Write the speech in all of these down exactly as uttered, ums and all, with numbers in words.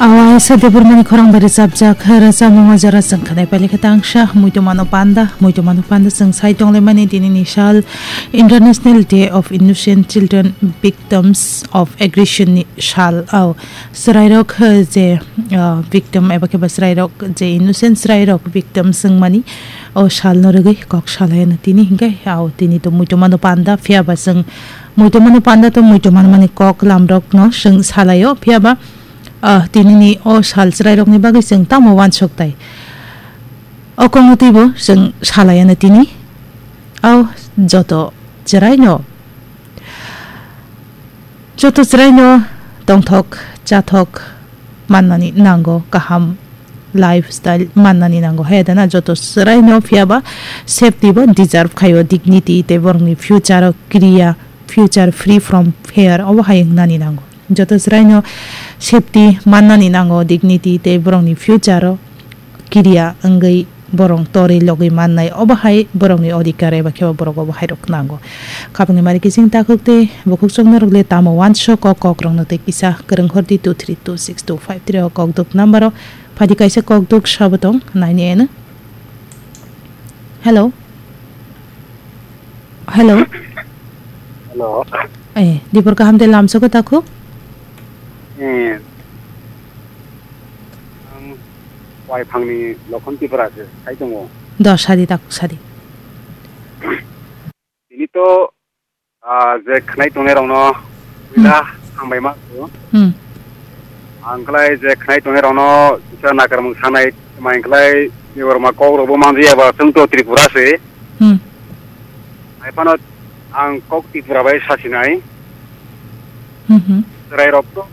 Awaisa Debbarmani khorang bai rwchapjak rwchapmung o jora chwng khwnai pailai khe tangsa muitu mano panda, muitu mano panda chwng sai tonglaimani tini ni sal International Day of Innocent Children Victims of Aggression ni sal. Au chwrairok, eh, je, ah, victim eba khe ba chwrairok je innocent chwrairok victim chwngmani o salno rwgwi kok salaino tini hinkhe au tini to muitu mano panda phiya ba chwng muitu mano panda to muitu mano mani kok lamrokno chwng salaio phiya ba Ah, tinini o sal chwrairokni bagwi chwng tamo uansuk tai? O kongno twibo chwng salai anw tini. O joto chwraino, joto chwraino tongthok, chathok mannani nango, kaham lifestyle mannani nango. Hai da na joto chwraino phiya ba safety bo deserve khaio, dignity tei borokni future o kiriya, future free from fear obo hai wngnani nango. Joto chwraino safety mannani nango, dignity tei borokni future-o kiriya wngwi borok torwi logwi mannai, obo hai borokni odhikar eba khe borok obo hai rok nango. Khapangni mari kiching takhuk tei bukhuk chuknokrok le tamo uansuk o kokrokno tei kisa kwrwng hor di two three two six two five three o kokduk number-o. Phaidi kaisa kokduk sabo tong naini eno. Hello. Hello. Hello. Eh, dibor kaham de lamsok takhuk? Eh. Ang Waipangni Lokhon Tripura se, sai tongo. Do sadi takhuk sadi. Tini to, ah, je khnai tongnai rokno Hmm. puila hambai ma. Hmm. Ang klai je khnai tongnai rokno kisa nakarmung sanai, mai klai Debbarma kok rokbo manjaya ba, chwng to Tripura se. Hmm. Hai phano ang kok Tripura bai sasinai. Hmm, hmm. Chwrai rok to,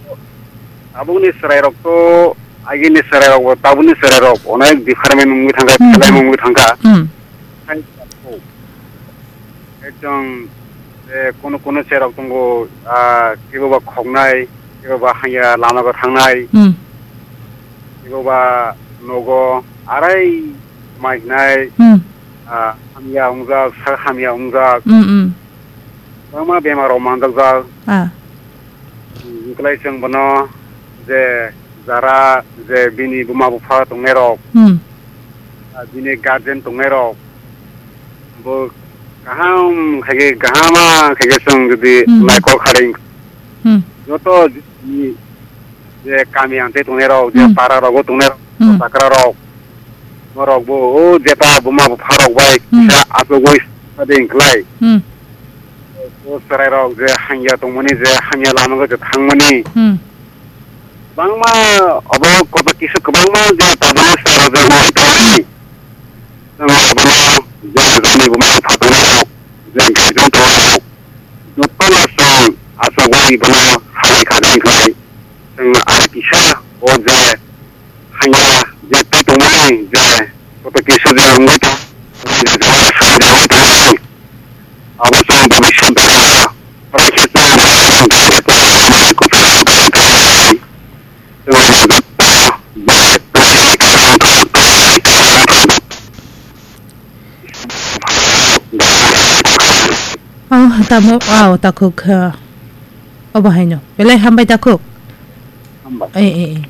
tabukni chwrai rok to, agini chwrai rok bo tabukni chwrai rok onek different wngwi thangkha, Hmm, khelai hmm. wngwi thangkha. Hmm. Hai, ekdom, eh, kono kono chwrai rok tongo, ah, kebo ba khoknai, kebo ba hanya lama go thangnai. Hmm. Ebo ba nogo arai mainai, Hmm. ah, hamya wngjak, sak hamya wngjak. Hmm, hmm. Kwbangma bemar rok manjakjak. Ah. Wngklai chwng bono je jara je bini buma bupha tongnai rok, Hmm. ah, bini guardian tongnai rok, bo kaham khaikhe, kahama khaikhe chwng jodi Hmm. naikol kharing Hmm. joto ni je kami ang tei tongnai rok, je Hmm. para rogo tongnai rok, Hmm. takra rok, norok bo o jeta buma bupha rok bai Hmm. kisa achugwi sade wngklai. Hmm. O chwrai rok je hangya tongmani, je hangya lama go je thangmani. Hmm. Bangma obo koto kisa kwbangma je tabuk chwrai rok je nai tongmani. Chwng abono je jani buma bupha tongnai rok, je guardian tongnai rok, jotono chwng achugwi bono hambai kha de wngklai. Chwng ar kisa o je hanya je tei tongmani je koto kisa je wngwi tong, je jora song je wngwi tongmani. Abo chwng bhabishyot o, oro khe chwng Oh, tamo, oh, takhuk, ah, obo haino. Belai hambai takhuk. Hambai. Eh, eh, eh.